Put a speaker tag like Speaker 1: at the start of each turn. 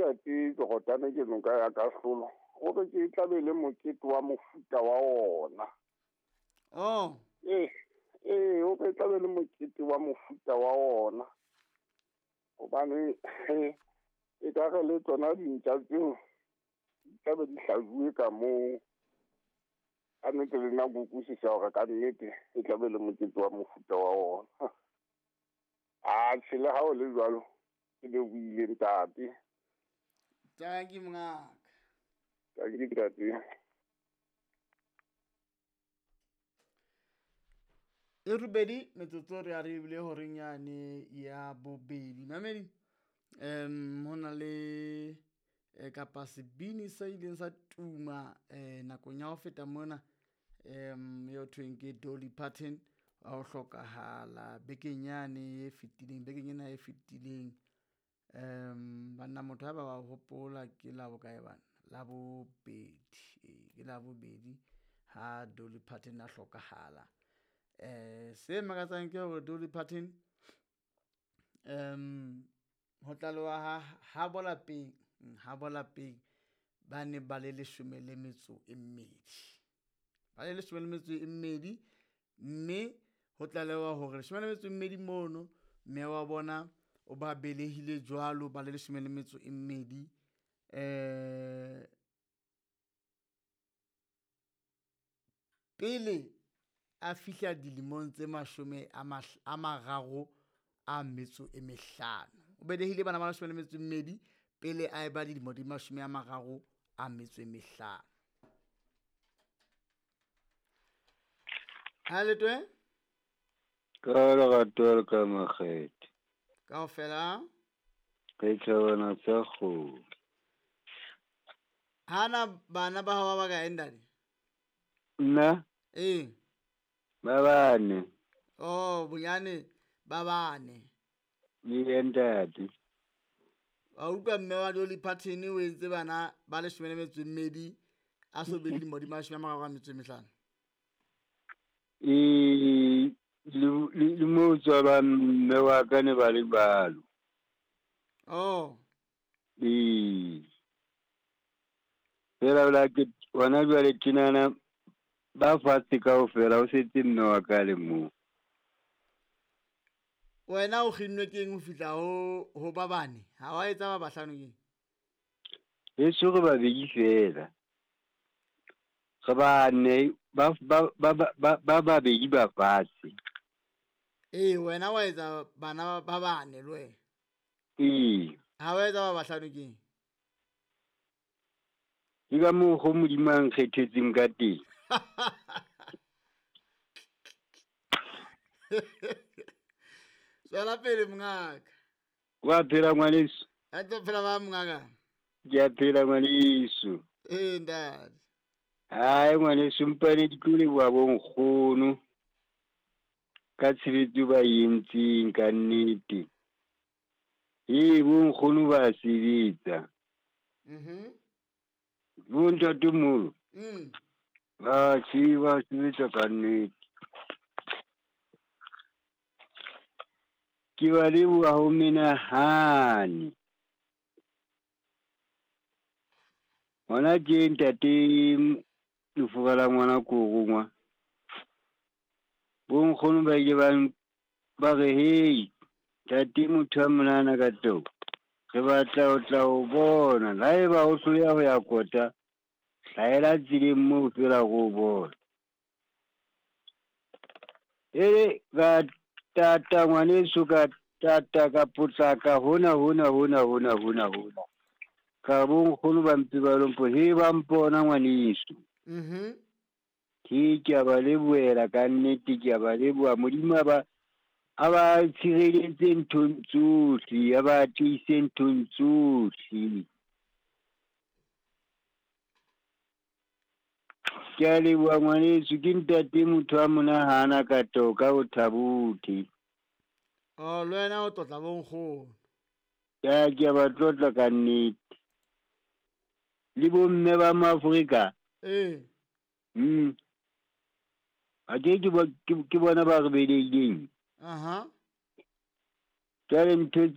Speaker 1: Ntate Jordan ke noka ya kahlolo. O re ke tlabe le mokete wa mofuta wa ona.
Speaker 2: Oh.
Speaker 1: Ee, ee, o re tlabe le mokete wa mofuta wa ona. Hobane e ka re le tsona dintja tseo di tlabe di hlajuwe ka moo. Ka nnete le nna ke utlwisisa hore ka nnete e tlabe le mokete wa mofuta wa ona. Atjhe, le ha o le jwalo, ke lebohile ntate.
Speaker 2: Tanki mongaka.
Speaker 1: Tanki ntate.
Speaker 2: E robedi metsotso re a re ebile horeng yane ya bobedi. Mamedi, ho na le kapa sebini se ileng sa tuma nakong ya ho feta mona, eo thweng ke Dolly Parton, wa ho hlokahala bekeng yane e fetileng, bekeng ena e fetileng. Banna motho ha ba wa hopola ke la bokae bana? Labobedi, ee, ke labobedi ha Dolly Parton a hlokahala. Se makatsang ke hore Dolly Parton, ho tlalewa ha bo lapeng, ha bo lapeng ba ne ba le leshome le metso e mmedi. Ba le leshome le metso e mmedi, mme ho tlalewa hore leshome le metso e mmedi mono, mme wa bona o ba belehile jwalo ba le leshome le metso e mmedi. Pele a fihla dilemong tse mashome a mararo a metso e mehlano. O belehile bana ba leshome le metso e mmedi pele a eba dilemo di mashome a mararo a metso e mehlano. Ha letwe?
Speaker 3: Ka lerato le ka makgethe.
Speaker 2: Kaofela?
Speaker 3: Re thabana tsa kgomo.
Speaker 2: Hana bana ba hao ba bakae ntate?
Speaker 3: Nna?
Speaker 2: Ee.
Speaker 3: Ba bane.
Speaker 2: Oh, bonyane ba bane.
Speaker 3: Ee, ntate.
Speaker 2: Wa utlwa mme wa Dolly Parton o entse bana ba leshome le metso e mmedi a so be le dilemo di mashome a mararo a metso e mehlano.
Speaker 3: Ee, le moo tswalwang mme wa ka ne ba le jwalo.
Speaker 2: Oh.
Speaker 3: Ee. Fela la ke hona jwale tjenana ba fatshe kaofela, ho setse mme wa ka le mong.
Speaker 2: Wena o kginnwe ke eng ho fihla ho ba bane? Ha wa etsa ba bahlano keng?
Speaker 3: Heso re babedi fela. Re bane, ba babedi ba fatshe.
Speaker 2: Ee, wena wa etsa bana ba bane le wena.
Speaker 3: Ee.
Speaker 2: Ha wa etsa ba bahlano keng?
Speaker 3: Ke ka mokgo Modimo a nkgethetseng ka teng.
Speaker 2: Tswela pele mongaka.
Speaker 3: Wa phela ngwaneso?
Speaker 2: A ntse phela ba mongaka.
Speaker 3: Ke a phela ngwaneso.
Speaker 2: Ee ntate.
Speaker 3: Hai ngwaneso, mpa ne ke tlo leboha bo nkgono ka tshebetso ba e entseng ka nnete. Ee, bo nkgono ba sebetsa. Bo ntatemoholo. Ba tseba sebetsa ka nnete. Ke ba leboha ho menahane. Hona tje ntate lefura la ngwana ko rongwa. Bo nkgono ba ile ba re hei ntate motho a monana ka teng. Re batla ho tla ho bona. La eba o hloleha ho ya kota, hlahela tseleng moo feela re o bona. E ka tata ngwaneso, ka tata ka potlaka hona hona hona hona hona hona. Ka bo nkgono ba mpe ba lo mpo, he ba mpona ngwaneso. Ke a ba lebohela ka nnete, ke a ba leboha. Modimo a ba tshireletse nthong tsohle, a ba tiise nthong tsohle. Ke a leboha ngwaneso, ke ntate motho a monahana ka toka o thabothe.
Speaker 2: Oh, le wena o tlotla bo nkgono.
Speaker 3: Ya, ke a ba tlotla ka nnete. Le bo mme ba Maafrika.
Speaker 2: Ee.
Speaker 3: A ke ke bona ba re belehileng.
Speaker 2: Aha.
Speaker 3: Jwale ntho tse